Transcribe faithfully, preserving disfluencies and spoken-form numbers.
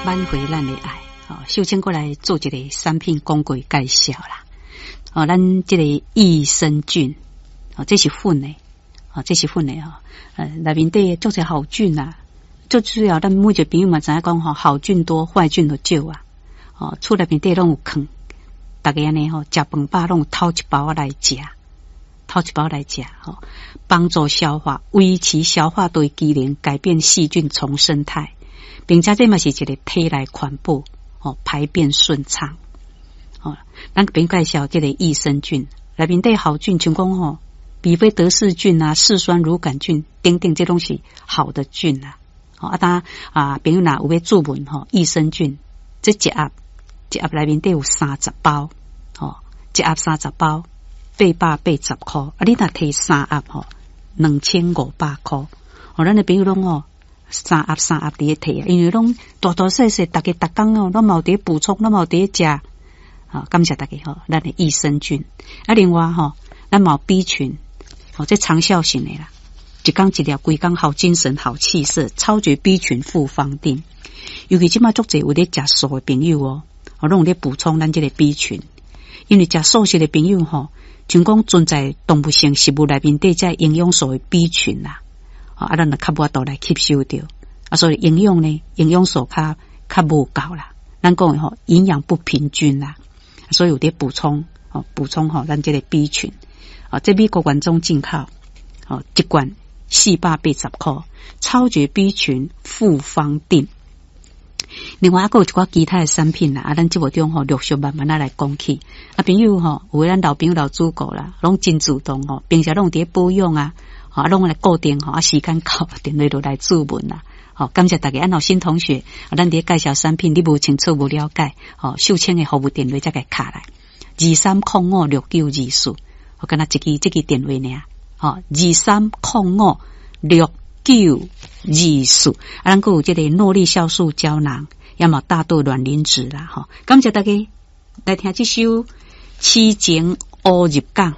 挽回咱的愛。哦，秀清閣來做一個產品廣告介紹啦。哦，咱這個益生菌，哦，這是粉的，哦，這是粉的吼。呃，內面底足濟好菌啊，最主要咱每一個朋友嘛知影講吼，好菌多，壞菌就少啊。哦，厝內面底攏有囥，逐家按呢吼，食飯飽攏有偷一包仔來食，偷一包來食吼，幫助消化，維持消化道機能，改變細菌叢生態，並且這嘛是一個體內環保，哦，排便順暢。哦，咱邊介紹這個益生菌，內面底好菌，像講吼，比菲德氏菌啊、嗜酸乳桿菌等等，這攏是好的菌啊。哦，啊，當啊，朋友若有欲注文吼，益生菌這一盒一盒內面底有三十包，吼，一盒三十包，八百八十箍。啊，你若提三盒吼，兩千五百箍。哦，咱的朋友攏吼，三盒三盒佇咧提啊，因為攏大大細細，逐家逐工哦，攏嘛有佇咧補充，攏嘛有佇咧食。好，感謝大家吼，咱的益生菌。啊，另外吼，咱嘛有 B 群，哦，這長效型的啦，一工一粒，規工好精神、好氣色，超絕 B 群複方錠。尤其這馬足濟有咧食素的朋友哦，哦，攏有咧補充咱這個 B 群。因為食素食的朋友吼，像講存在動物性食物內面底這營養素的 B 群啦，啊，咱就較無法度來吸收著，啊，所以營養呢，營養素較較無夠啦。咱講的吼，營養不平均啦。所以有佇補充，哦，補充吼，咱這個 B 群，哦，這美國原裝進口，哦，一罐四百八十箍，超絕 B 群複方錠。另外，還閣有一寡其他的產品啦，啊，咱節目中吼陸續慢慢仔來講起。啊，朋友吼，有的咱老朋友老主顧啦，攏真主動吼，平時攏有佇咧保養啊，啊，攏來固定吼，啊，時間到電話就來諮問啦。好，感謝大家。按老新同學，咱佇咧介紹產品，你無清楚無了解，吼，秀清的服務電話才共敲來，二三空五六九二四，我敢若一支這支電話爾，吼，二三空五六九二四，啊，咱閣有這個諾麗酵素膠囊，也嘛大豆卵磷脂啦，吼，感謝大家來聽這首《痴情烏入港》。